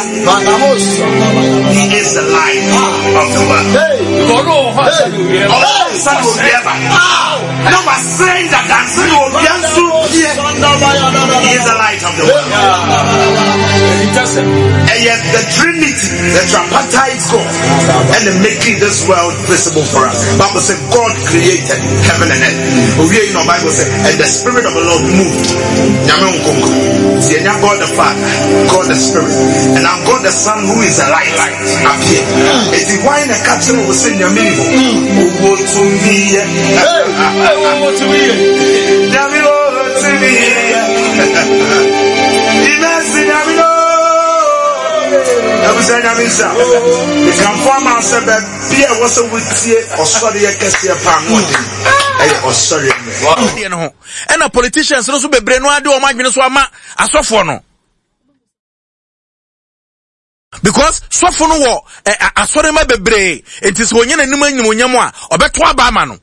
He is the light of the world. Ɔnsa na owia ba. Na wasɛn dada nsa na owia nso pie. He is the light of the world. Ɛyɛ the Trinity, the tripartite God, and the making this world visible for us. Bible said God created heaven and earth. Owia yi na Bible said, and the spirit of the Lord moved. Nyame nkonko. Ti enya God the Father. God the Spirit and now God the Son who is the light appear. Eti why na ɛka kyerɛ wo sɛ nyame ni hɔ? Owó tumi yɛ. Owó tumi yɛ. Nyame wo tumi yɛ. Imɛsi nyame no. Ɛbusɛ nyame nsa. Mekamfo ama sɛ baabi a ɛwɔ sɛ wotie ɔsɔreɛ kɛseɛ paa no ɔden ɛyɛ ɔsɔreɛ mmerɛ. no ho ɛna politicians no so bebree no ade wɔn adwene so ama asɔfoɔ no because sɔfo no wɔ ɛ asɔrema bebree nti sɛ onye n'anim anyimonyam a ɔbɛto aba ama no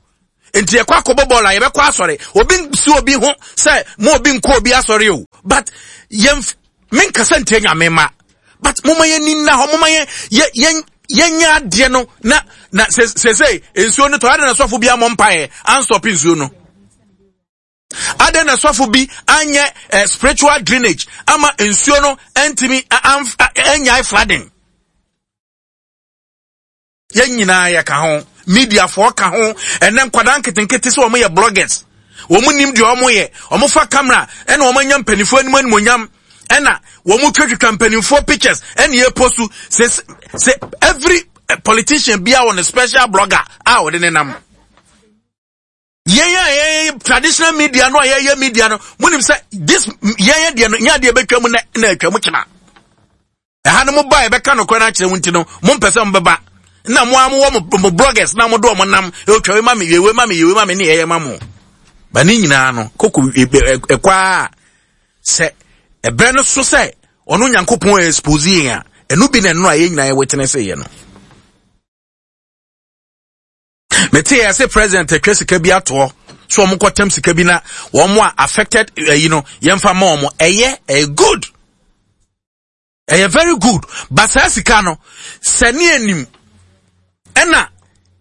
nti yɛkɔ akɔbɔ bɔɔl a yɛbɛkɔ asɔre obi si obi ho sɛ mo obi nkɔ obi asɔre o but yɛn menkasa ntia nyame ma but moma yɛn ni nna hɔ moma yɛn yɛn yɛnyɛ adeɛ no na na sese nsuo no tɔ adɛn na sɔfo bi amɔ mpaeɛ ansɔpe nsuo no. Adɛn na sɔfo bi anyɛ eh, spiritual drainage ama nsuo no antumi anyae flooding? Yɛn nyinaa yɛka ho, mediafoɔ ka ho, ɛnɛ nkwadaa nketenkete sɛ wɔn yɛ bloggers, wɔn nim deɛ wɔn yɛ, wɔn fa camera ɛna wɔn anya mpanimfoɔ anim animonyam, ɛna wɔn twatwitwa mpanimfoɔ pictures ɛna yɛ post sɛ sɛ every eh, politician bia wɔ ne special blogger a ɔde ne nam. Yɛn a yɛyɛ traditional media no a yɛyɛ media no, monim sɛ this yɛyɛ deɛ no nyɛ adeɛ bɛtwa mu na na atwa mu kyena. Ɛha no mo ba yɛbɛka nokorɛ no akyerɛ mo nti no, mompɛ sɛ mobɛba. Na mo a mowɔ mo, mo bloggers na mode wɔn nam, ɛtwa wei ma me, yɛ wei ma me, yɛ wei ma me, ne yɛyɛ ma mo. Ba ne nyinaa no, koko ɛkɔ a sɛ ɛberɛ no so sɛ ɔno Nyankopɔn expose yɛn a, ɛno bi na ɛno a yɛn nyinaa yɛ witness yɛ no. Mete yɛ sɛ president atwa sika bi atoɔ so wɔn kɔtɛm sika bi na wɔn a affected ɛyi eh, no yɛmfa ma wɔn ɛyɛ ɛyɛ good ɛyɛ very good but saa sika no sɛ ne anim ɛna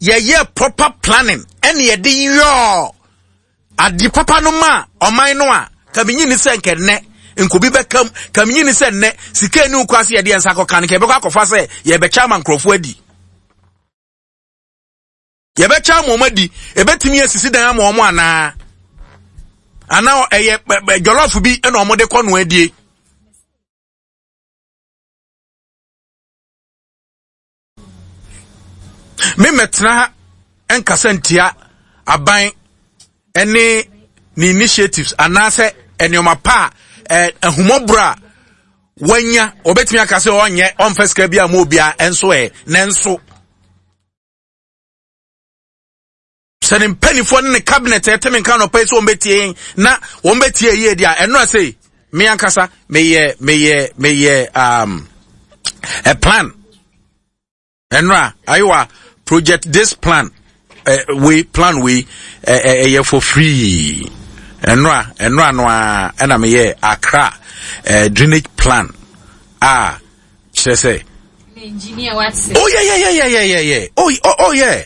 yɛyɛ proper planning ɛna yɛde yɔɔ Ade papa no maa ɔman no a, ka menyi ni sɛ nkɛ nnɛ nkobi bɛka mu, ka menyi ni sɛ nnɛ sika ani wokɔ ase yɛde yɛn nsa akɔka no, nka yɛbɛkɔ akɔfa sɛ yɛbɛkyɛ ama nkurɔfoɔ adi. Yɛbɛkyɛ ama wɔn adi, ɛbɛtumi asisi dan ama wɔn anaa? Anaa ɛyɛ jɔlɔfo bi na wɔde kɔ no adie. Me mmɛtena ha nkasa ntia aban ne ne initiatives anaasɛ nneɛma pa a ahumɔborɔ a wanya wɔbɛtumi aka sɛ ɔnyɛ ɔmfa sika bi a ma obiara nso ɛ nanso sɛ ne mpanimfoɔ ne ne cabinet ɛte me nka nɔpɛ sɛ wɔbɛtie yɛn na wɔbɛtie yie deɛ a ɛno ase me ankasa meyɛ meyɛ meyɛ um, a plan ɛno a ayewa project this plan uh, wei plan wei ɛyɛ uh, uh, for free ɛno a ɛno a no a ɛna meyɛ Accra uh, drainage plan a kyerɛ sɛ oh yeah yeah yeah yeah yeah yeah oh, oh, oh yeah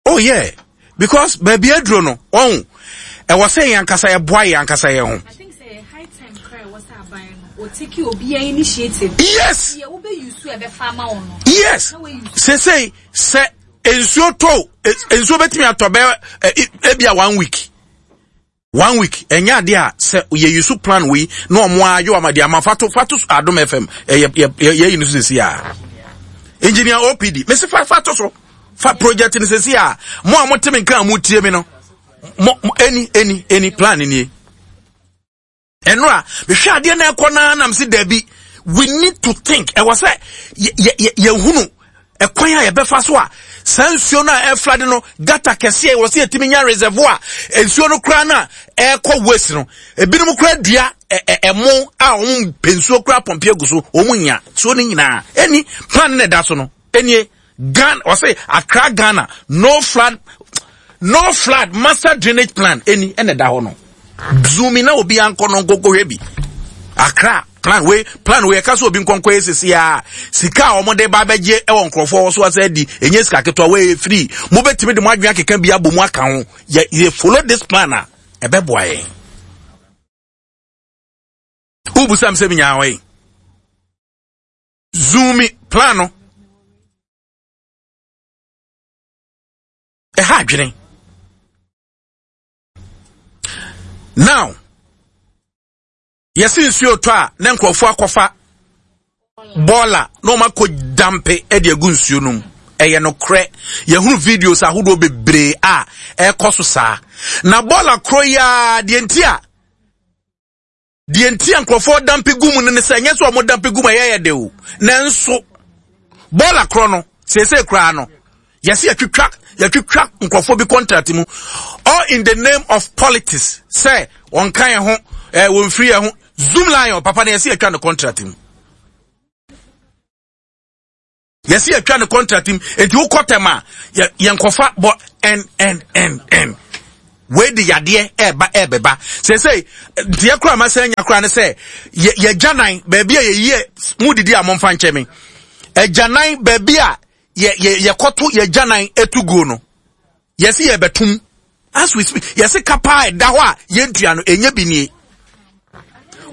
Oh yeah, because baabi aduro no, wɔn ɛwɔ sɛ yɛn ankasa yɛboa yɛn ankasa yɛn ho. Yes. Yes. Sese sɛ nsuo tɔ nsuo bɛtumi atɔ bɛ ebi a one week. One week ɛnyɛ adeɛ a sɛ yɛ use plan wei na ɔmo ayɔ ama deɛ ama fato fato Adom FM ɛyɛ yɛ yɛ yi no so sisi a engineer OPD mesi fa fato so fa project no sisi a mo a mo te me nka a mo tie mi no mo any any any plan nie. Ɛno a mehwɛ adeɛ na ɛkɔ naa nam se dabi we need to think ɛwɔ sɛ yɛhunu ɛkwan a yɛbɛfa so a saa nsuo no a ɛflade no gata kɛseɛ ɛwɔ sɛ yɛtumi nya reservoir nsuo no koraa no a ɛrekɔ waste no ebinom koraa dua ɛmo a wɔn pɛ nsuo koraa pɔmpe agu so wɔn nya nsuo no nyinaa ɛni plan na ɛda so no ɛnie Ghana ɔsɛ Accra Ghana no flood no flood master drainage plan ɛni ɛna ɛda hɔ no zoomi na obi ankɔ no nkɔkɔhwɛ bi Accra. Plan wei plan wei ɛka sɛ obi nkɔnkɔ yɛ sisi a sika a wɔn de ba abɛgye ɛwɔ nkurɔfoɔ wɔ so asa adi ɛnyɛ sika ketewa wei yɛ free. Mobɛtumi de mo adwene akeka bi abɔ mu aka ho. Yɛ yɛ follow this plan a ɛbɛboa yɛn. Wobusam sɛ menyaa hɔ yi. Zoom plan no. Ɛha adwene. Now, yɛsi nsuo tɔ a na nkurɔfoɔ akɔfa bɔɔla na wɔn akɔ dampe de agu nsuo no mu. Ɛyɛ nokorɛ. Yɛhunu videos ahodoɔ bebree a ɛrekɔ so saa. Na bɔɔla korɔ yi ara deɛ nti a Deɛ nti a nkurɔfoɔ dampe gu mu no ne sɛ ɛnyɛ sɛ wɔn dampe gu mu ɛyɛ yɛ de o nanso bɔɔla korɔ no seesei koraa no yɛsi yɛtwitwa yɛtwitwa nkurɔfoɔ bi contract mu all in the name of politics sɛ wɔn ka yɛn ho ɛɛ wɔn firi yɛn ho zoom lion papa no yɛsi yɛtwa no contract mu. Yɛsi yɛtwa ne contract mu eti wokɔ tɛm a yɛ yɛnkɔfa bɔ n n n n wei de yadeɛ ɛɛba ɛɛbɛba sɛsɛ deɛ koraa ma sɛ nya koraa ne sɛ yɛ yɛgyanan baabi a yɛyie mu didi a momfa nkyɛ me ɛgyanan baabi a yɛ yɛ yɛkɔto yɛgyanan etu guo no Yɛse yɛbɛtom as we speak. Yɛse ka paa ɛda hɔ a yɛntua no ɛnyɛ bi nie.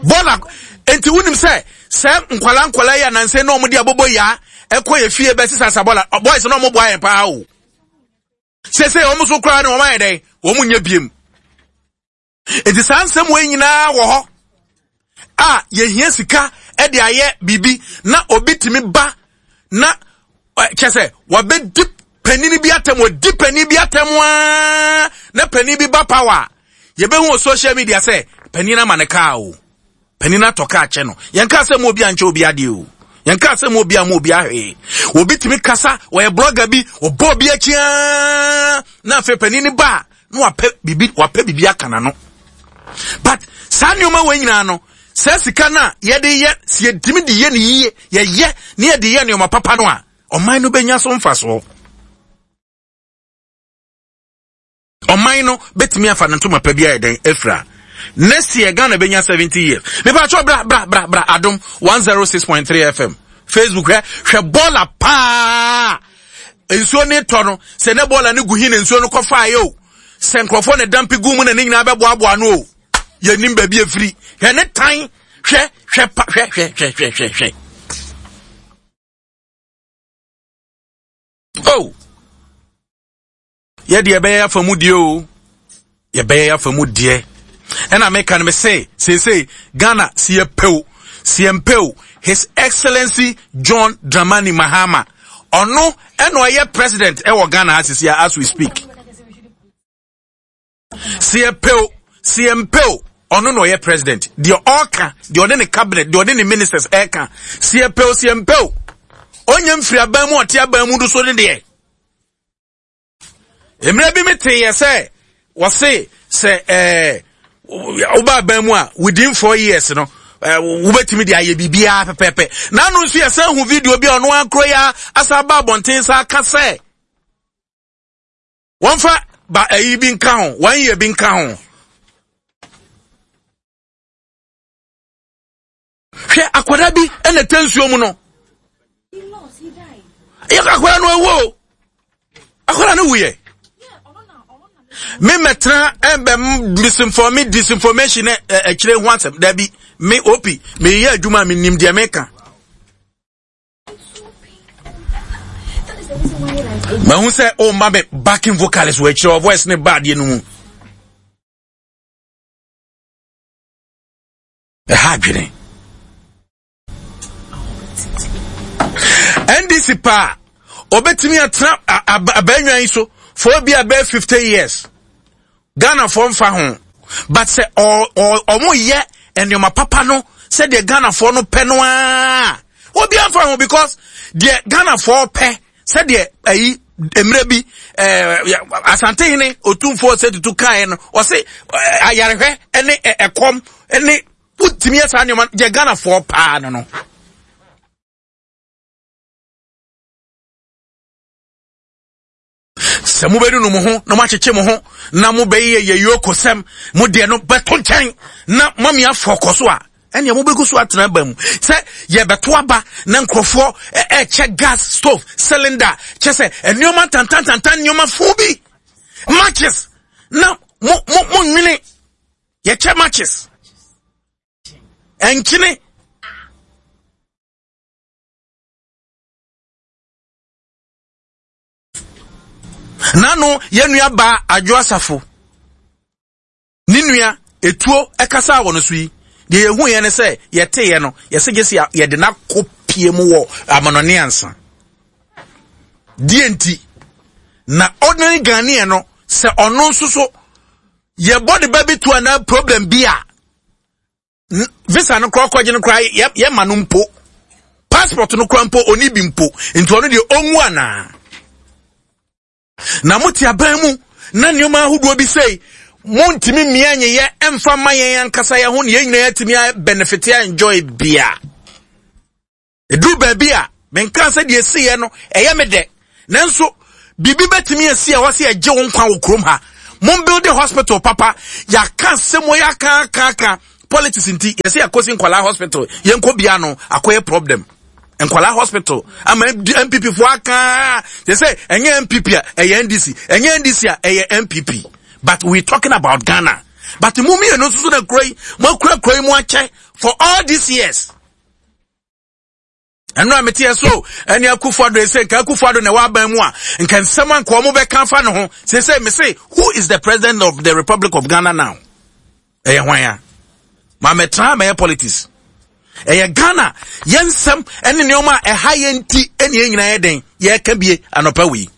Bɔla nti wonim sɛ sɛ nkwala nkwala yi anansɛ na wɔde abobo yaa ɛkɔ yɛ fie bɛsesa sa bɔla boys na wɔn boa yɛn paa o. Sese wɔn so koraa no wɔn ayɛ dɛn wɔn nyɛ biem. Enti saa nsɛm wei nyinaa wɔ hɔ a yɛhia sika de ayɛ biribi na obi tumi ba na kyɛ sɛ wabɛdi panin bi atɛm wɔdi panin bi atɛm aa na panin bi ba power a yɛbɛhu wɔ social media sɛ panin ama ne kaa o Panin atɔ kaa kyɛ no. Yɛn kaa sɛ mu obi ankyɛ obi adeɛ o. Yɛn kaa sɛ mu obi ama obi ahwee. Obi tumi kasa, wɔyɛ blogger bi, ɔbɔ obi akyi aa, na afei panin no ba a, na wapɛ bibi, wapɛ bibi aka n'ano. But saa nneɛma wɔ nyinaa no, saa sika no a yɛde yɛ, sɛ yɛtumi de yɛ ne yie, yɛyɛ ne yɛde yɛ nneɛma papa no a, ɔman no bɛnya so mfasoɔ. Ɔman no bɛtumi afa ne ntoma pa bi ayɛ dɛn afira. Next year Ghana bɛnya 70 years. Mepa kyɛw bra bra bra bra Adom 106.3 FM. Facebook hwɛ hwɛ bɔɔla paa. Nsuo ne tɔ no sɛ ne bɔɔla no gu hi na nsuo no kɔfa ayɛ o. Sɛ nkurɔfoɔ na dampi gu mu na ne nyinaa bɛboaboa no o. Yɛnim baabi afiri. Hwɛ ne tan hwɛ hwɛ pa hwɛ hwɛ hwɛ hwɛ hwɛ hwɛ. Oh. Yɛ deɛ yɛbɛyɛ afa mu deɛ o yɛbɛyɛ afa mu deɛ ɛna meka no me se seesei Ghana si yɛpɛ o si yɛmpɛ o His Excellency John Dramani Mahama ɔno ɛna ɔyɛ president ɛwɔ Ghana ha sisi as we speak si yɛpɛ o si yɛmpɛ o ɔno na ɔyɛ president deɛ ɔka deɛ ɔne ne cabinet deɛ ɔne ne ministers ɛka si yɛpɛ o si yɛmpɛ o ɔnyɛ mfiri aban mu ɔte aban mu do so ne deɛ Mmerɛ bi me teeɛ sɛ wɔse sɛ ɛɛ woba aban mu a within four years no ɛɛ wobɛtumi de ayɛ biribiara pɛpɛɛpɛ. N'ano nso yɛsan hu video bi a ɔno akoro yi asa aba abɔnten sa aka sɛ wɔmfa ba ɛyi bi nka ho one year bi nka ho. Hwɛ akwadaa bi na ɛtɛ nsuo mu no. Yɛ akwadaa no awu o. Akwadaa no wuyɛ. Me mɛtena ɛbɛ misinform disinformation ɛkyerɛ ho asɛm dabi me opi meyɛ adwuma me nim deɛ meka. Mahu sɛ o ma me backing vocalist wɔ akyerɛ voice ne ba adeɛ no mu. Ɛha adwene. NDC paa obetumi atena abɛnwa yi so for obi a bɛyɛ 50 years. Ghana fo mfa ho. But sɛ ɔmo yɛ nneɛma papa no sɛdeɛ Ghana foɔ no pɛ no aa obi amfa ho because deɛ Ghana foɔ pɛ sɛdeɛ ayi mmerɛ bi ɛɛ asantehene otumfoɔ sɛ tutu kaeɛ no ɔse ayarehwɛ ne ɛkɔm ne wotumi yɛ saa nneɛma deɛ Ghanafoɔ paa no no. Sɛ mobɛnunu mo ho na moakyekye mo ho na mobɛyɛ yɛ yokosɛm mo deɛ no bɛto nkyɛn na moame afɔ kɔ so a. ɛnea mobɛgu so atena aba mu sɛ yɛbɛto aba na nkurɔfoɔ ɛkyɛ gas stove cylinder kyɛ sɛ nneɛma tantantantan nneɛma fo bi matches na mo mo mo nwene yɛkyɛ matches ɛnkyene. Nano yɛn nua baa Adwo Asafo ne nua etuo ɛkasaa wɔ no so yi deɛ yɛhu yɛn ne sɛ yɛteeɛ no yɛsɛ gye sɛ yɛde no akɔ pie mu wɔ amanɔne ansa deɛ nti na ordinary Ghanaian no sɛ ɔno nso so yɛbɔ ne ba bi to anaa problem bi a visa no koraa kɔgye no koraa yɛma no mpo passport no koraa mpo ɔni bi mpo nti ɔno deɛ ɔnwu anaa na mote aban mu na nneɛma ahodoɔ bi sei montumi mmea nyeyɛ mfa ma yɛn ankasa yɛn ho na yɛn nyinaa yɛatumi benefit a enjoy bia Ɛduru baabi a, menkaa sɛ deɛ ɛsiiɛ no, ɛyɛ me dɛ. Nanso, biribi bɛtumi asi a ɛwɔ sɛ yɛgye wo nkwa wɔ kurom ha. Mombuilde hospital papa. Yɛaka asɛm wɔ yɛaka aka aka. Politics nti, yɛsɛ yɛkɔsi nkwadaa hospital. Yɛnkɔ bia no, akɔyɛ problem. Nkwadaa hospital ama MPP foɔ aka. Yɛ sɛ ɛnyɛ MPP a ɛyɛ NDC, ɛnyɛ NDC a ɛyɛ MPP. But we talking about Ghana. But mo mmienu nso so na kuro yi, mo akura kuro yi mu akyɛ for all these years. ɛno a meteɛ so ɛne akufo ado ɛsɛ nka akufo ado na ɛwɔ aban mu a nka nsɛm a nka wɔn bɛka afa ne ho sese me se who is the president of the republic of ghana now ɛyɛ hwan a maame tra mɛyɛ politics ɛyɛ ghana yɛn nsɛm ɛne nneɛma a ɛha yɛn ti ɛne yɛn nyinaa yɛ den yɛreka bie anɔpa wei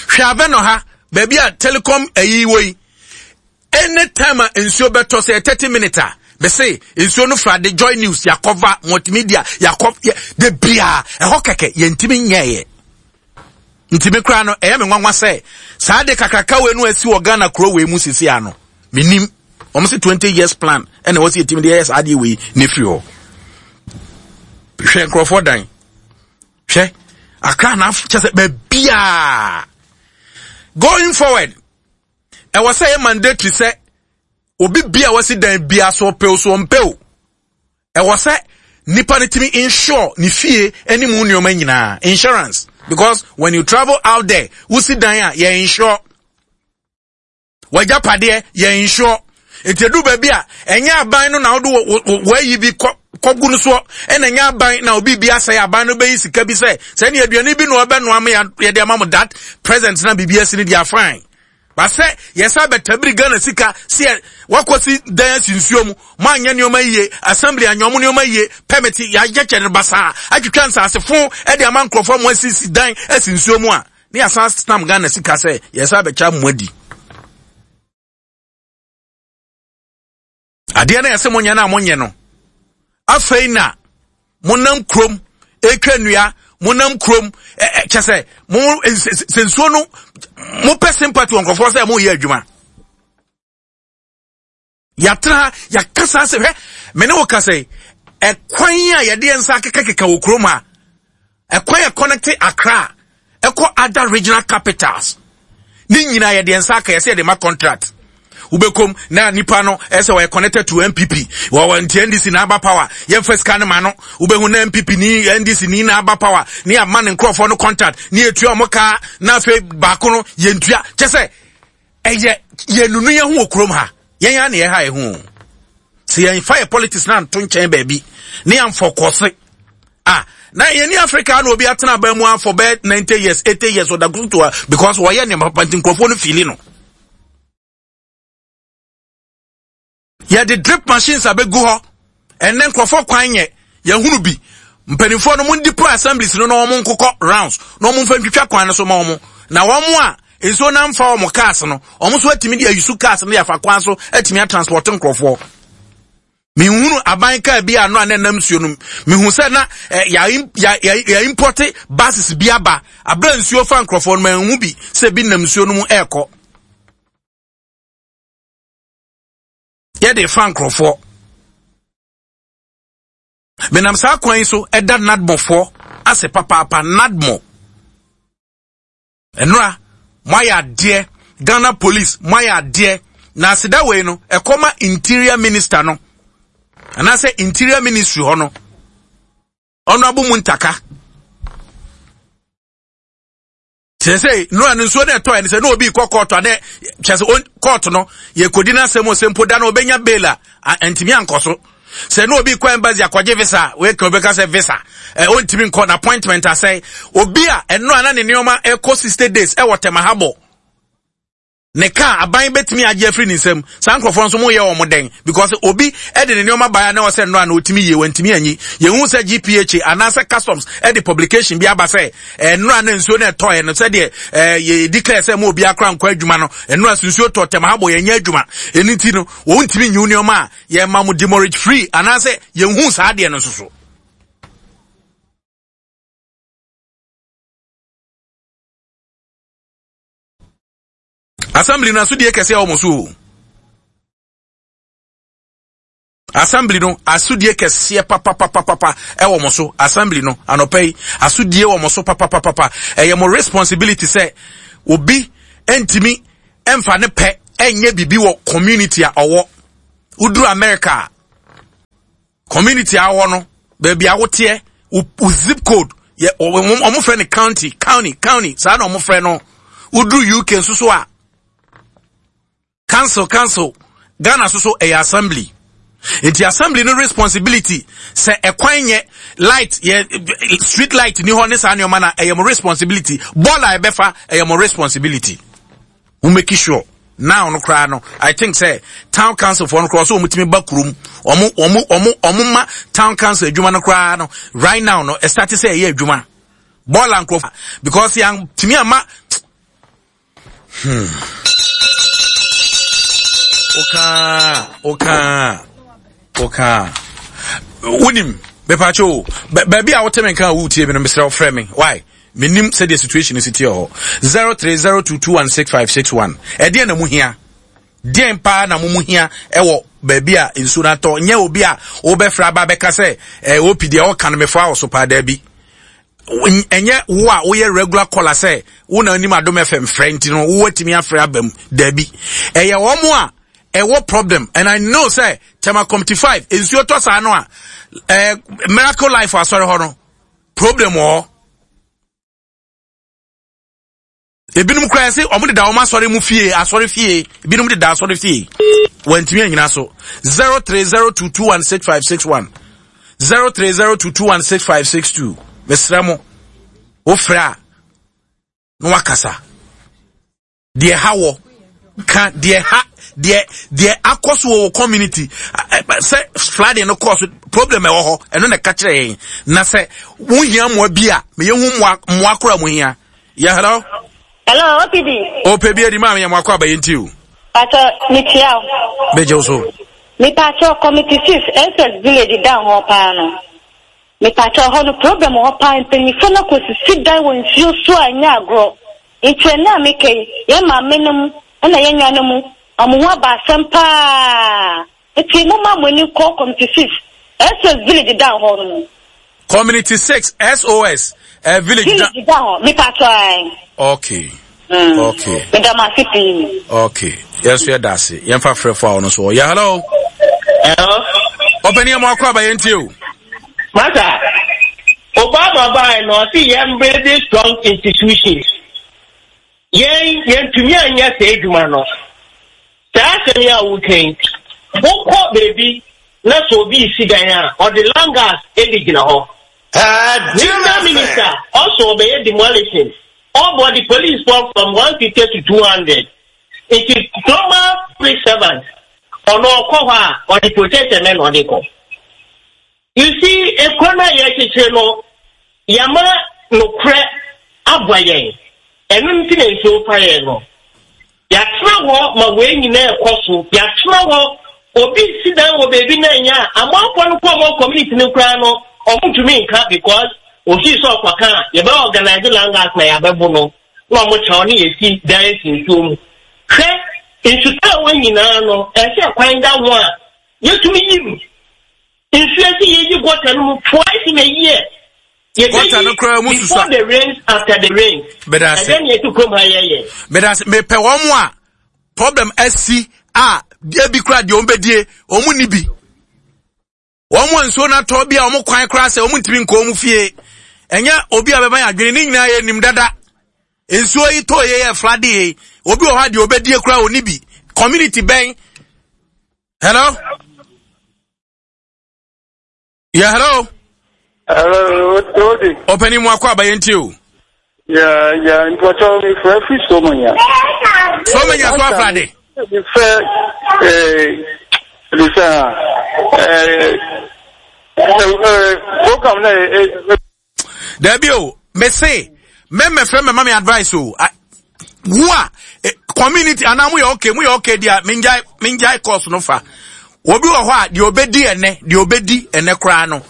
hwɛ abɛ no ha baabi a telecom ɛyi wɔ yi Anytime a nsuo bɛtɔ sɛ 30 minutes a mese nsuo no fra de joy news yakɔva multimedia yakɔ de bia ɛhɔ kɛkɛ yɛntumi nyɛɛyɛ nti me koraa no ɛyɛ me nwanwa sɛ saa de kakraka wei no asi wɔ Ghana kuro wei mu sisi ano menim wɔn se 20 years plan ɛna ɛwɔ sɛ yɛtumi de yɛyɛ saa adeɛ wei ne firi hɔ hwɛ nkurɔfoɔ dan hwɛ akra na kyɛ sɛ baabiaa going forward ɛwɔ sɛ ɛyɛ mandatory sɛ obi bia wasi dan bia so ɔpɛ o so ɔmpɛ o ɛwɔ sɛ nipa no tumi insure ne fie ne mu nneɛma nyinaa insurance because when you travel out there wosi dan a yɛ insure wagyapadeɛ yɛ insure nti edu baabi a ɛnyɛ aban no na wode wɔayi bi kɔ kɔgu no soɔ ɛna ɛnyɛ aban na obi bi asɛe aban no bɛyi sika bi sɛ sɛ ne aduane bi na ɔbɛnoa ma yɛde ama mo that present na biribi asi no deɛ fine basɛ yɛsa bɛtabiri Ghana sika sɛ wakɔsi dan asi nsuo mu moanyɛ nneɛma yie assembly anyɛ ɔmo nneɛma yie permit yɛayɛkyɛ no basaa atwitwa nsaase fo ɛde ama nkurɔfoɔ mo asisi dan asi nsuo mu a ne yɛsan stam Ghana sika sɛ yɛsa bɛkyɛ mo adi adeɛ no yɛsɛ monyɛ no a monyɛ no afei na monam kurom ɛtwa nnua monam kurom kyɛ sɛ mo sɛ nsuo no mopɛ sympathy wɔ nkurɔfoɔ sɛ moyɛ adwuma yɛatena ha yɛaka saa sɛ hwɛ me ne wo ka sɛ ɛkwan a yɛde yɛn nsa akekakeka wɔ kurom ha ɛkwan a connect Accra ɛkɔ other regional capitals ne nyinaa yɛde yɛn nsa aka yɛsɛ yɛde ma contract wobɛkom na nipa no ɛsɛ wɔyɛ connected to npp wɔwɔ nti ndc na aba power yɛmfa sika no ma no wobɛhu na npp ni ndc ni na aba power ne ama ne nkurɔfoɔ no contract ne yɛtua ɔmo kaa na afei baako no yɛntua kyɛ sɛ ɛyɛ yɛnunu yɛn ho wɔ kurom ha yɛn ara na yɛha yɛn ho sɛ yɛnfa yɛ politics na nto nkyɛn baabi ne yɛnfɔ kɔse ah na yɛn ni africa na obi atena aban mu afɔ bɛɛ 90 years 80 years ɔda kutu a because wɔyɛ nneɛma papa nti nkurɔfoɔ no fiili no Yɛde drip machines abɛgu hɔ. Ɛnnɛ nkurɔfoɔ kwan nyɛ. Yɛhunu bi. Mpanimfoɔ no mo deploy assemblies no na wɔn nkokɔ rounds na wɔn mfa ntwitwa kwan no so ma wɔn. Na wɔn a nsuo no amfa wɔn cars no, wɔn nso atumi de ayusu cars no de afa kwan so atumi atransport nkurɔfoɔ. Mehunu aban kaa bi ano a na ɛnam nsuo no mu. Mehu sɛ na eh, yɛ import buses bi aba. Abere nsuo fa nkurɔfoɔ no, manhu bi sɛ bi nam nsuo no mu ɛrekɔ. Yɛde fa nkurɔfoɔ. Menam saa kwan yi so ɛda nadmofoɔ ase papaapa nadmo. Nnora moayɛ adeɛ Ghana police moayɛ adeɛ na aseda wei no ɛkɔma interior minister no. anaasɛ interior ministry hɔ no honorable Muntaka kyerɛ sɛ nura no nsuo no ɛtɔ ɛne sɛ na obi kɔ kɔɔto anɛ kyerɛ sɛ kɔɔto no yɛkɔdi no asɛm sɛ mpo da no ɔbɛnya bail a ntumi ankɔ so sɛ na obi kɔ embassy akɔgye visa weka obɛka sɛ visa ɛ ɔntumi nkɔ na appointment asɛe obi a ɛno a na ne nneɛma ɛkɔ 60 days ɛwɔ Tema Harbour Ne car aban bɛtumi agye afiri ne nsam. Saa nkurɔfoɔ nso moyɛ wɔn dɛn? Because obi de ne nneɛma baeɛ a na ɛwɔ sɛ nnora na ɔtumi yie, wantumi anyi. Yɛhu sɛ GPHA anaasɛ customs de publication bi aba sɛ nnora na nsuo no ɛtɔɛ no sɛdeɛ yɛ declare sɛ mo obiara koraa nkɔ adwuma no, nnora so nsuo tɔ tɛm ha bɔ yɛnyɛ adwuma. Ɛno nti no, wɔntumi nyi wo nneɛma a yɛma mo demurrage free anaasɛ yɛnhu saa adeɛ no nso so. Assembly no asodie kɛseɛ wɔ mo so o. Assembly no asodie kɛseɛ papapapapa ɛwɔ mo so. Assembly no anɔpa yi asodie wɔ mo so papapapapa. Ɛyɛ mo responsibility sɛ obi ntumi mfa ne pɛ ɛnyɛ biribi wɔ community a ɔwɔ. Woduru America a community a ɔwɔ no baabi a woteɛ wo zip code yɛ wɔn frɛ no county county county saa na wɔn frɛ no woduru uk nso so a council council ghana nso so ɛyɛ assembly nti assembly no responsibility sɛ ɛkwan nyɛ light yɛ street light ni hɔ ne saa nneɛma na ɛyɛ mo responsibility bɔɔl a ɛbɛfa ɛyɛ mo responsibility. Wo make sure now no koraa no I think sɛ town council foɔ no koraa ɔsɛ wɔn tumi ba kurom wɔn wɔn wɔn wɔn ma town council adwuma no koraa no right now no ɛsate sɛ ɛyɛ adwuma bɔɔla nkorɔfo because yɛn tumi ama hmm okaa okaa okaa wonim mepatwo o baabi a wote me nka a wotie me no mesrɛ wo frɛ me why Menim sɛdeɛ situation no si teɛ hɔ. 0302216561. Ɛdeɛn na mo hia? Deɛn paa na mo mo hia ɛwɔ baabi a nsuo no atɔ? Nyɛ obi a wobɛfrɛ aba bɛka sɛ eh, OP deɛ ɔka no mefoa wɔ so paa daabi. Ɛnyɛ wo a woyɛ regular caller sɛ wo na anim Adom FM frɛ nti no wowatumi afrɛ aba mu daabi. Ɛyɛ wɔn a ɛwɔ problem and I know sɛ Tema Committee 5 nsuo tɔ saa no a eh, Miracle Life asɔre hɔ no problem wɔ hɔ ebinom koraa sɛ wɔn deda wɔn asɔre mu fie asɔre fie ebinom deda asɔre fie wɔntumi anyina so 0302216561 0302216562 mesrɛ mo wofrɛ a na wakasa Deɛ ha wɔ ka deɛ ha deɛ deɛ akɔ so wɔ community sɛ flooding no kɔɔ so problem ɛwɔ hɔ ɛno na ɛka kyerɛ yɛn na sɛ wohia mmoa bi a meyɛ hu mmoa mmoa koraa mo hia yɛ hello. Hello, OPD. OPB adi maa meyɛ mo akɔ abayɛ nti o. Pacho, mekyia wo. Megye wo so. Mepacho, Committee 6, SS Village da hɔ paa no. Mepacho, hɔ no problem wɔ hɔ paa, mpanyinfoɔ no akɔsisi dan wɔ nsuo so a ɛnyɛ agorɔ. Nti ɛnnɛ a meka yi, yɛn maamenom na yɛn nuanom, wɔn ho aba asɛm paa. Nti momma mo ani nkɔ Community 6, SOS Village down hɔ no mu. Community 6, SOS eh, Village Village down hɔ, mepatɔ ae. Okay. Mm. Okay. Meda mo ase pii. Okay. Yɛn nso yɛda ase. Yɛmfa frɛfo a ɔno nso wɔ. Yeah, hello. Hello. Ɔpɛni yɛ mo akɔ aba yɛn tie o. Masa. Obama bae no ɔse yɛn building strong institutions. Yɛn yɛntumi anyɛ saa adwuma no. Saa asɛm yi a woka yi, wokɔ baabi na sɛ obi resi dan a, ɔde langas de gyina hɔ. Mister Minister ɔso ɔbɛyɛ demolition, ɔbɔ de police foɔ from 150 to 200. Nti normal public servant ɔno ɔkɔ hɔ a ɔde protection mɛ na ɔde kɔ. You see, ekuro no a yɛrekyekyere no, yɛama nokorɛ aboa yɛn. Ɛno nti na nsuo fa yɛn no. Yɛatena hɔ ma wei nyinaa ɛkɔ so. Yɛatena hɔ, obi si dan wɔ baabi na ɛnyɛ a, amanfoɔ no kɔ ɔmo community no koraa no, ɔmo ntumi nka because ofii sɛ ɔkɔka a, yɛbɛ organize langas na yɛabɛbo no, na ɔmo kyɛw ne yɛsi dan asi nsuo mu. Hwɛ, nsutaa wɔ nyinaa no, ɛsɛ kwan da ho a, yɛtumi yi mu. Nsuo ɛsɛ yɛyi gutter no mu twice in a year. Gutter no koraa mu susua. Before the rains, after the rains. Medase. Ɛdɛ ni ɛti kurom ha yɛyɛ. Medase mepɛ wɔn a problem asi a ebi koraa deɛ wɔn bɛdie wɔn ni bi. Wɔn a nsuo no atɔ bi a wɔn kwan koraa sɛ wɔn ntumi nkɔ wɔn fie. Ɛnyɛ obi a bɛma yɛn adwene ne nyinaa yɛ nim dada. Nsuo yi tɔ yɛ yɛ flade yi. Obi wɔ hɔ a deɛ ɔbɛdie koraa ɔni bi. Community bɛn. Hello? Yeah, hello? Hello, Odi. Ɔpɛni mu akɔ abayɛ nti o. Yeah, yeah, mpɔtɔ mi fɛ fi Somanya. Somanya so afrade. Mi fɛ eh lisa eh eh program na eh. Dabi o, me se mɛmɛ fɛ mɛma mi advice o. Wo a eh, community anaa mo yɛ okay mo yɛ okay deɛ mengyae mengyae course no fa. Obi wɔ hɔ a deɛ obedi ɛnɛ deɛ obedi ɛnɛ koraa no.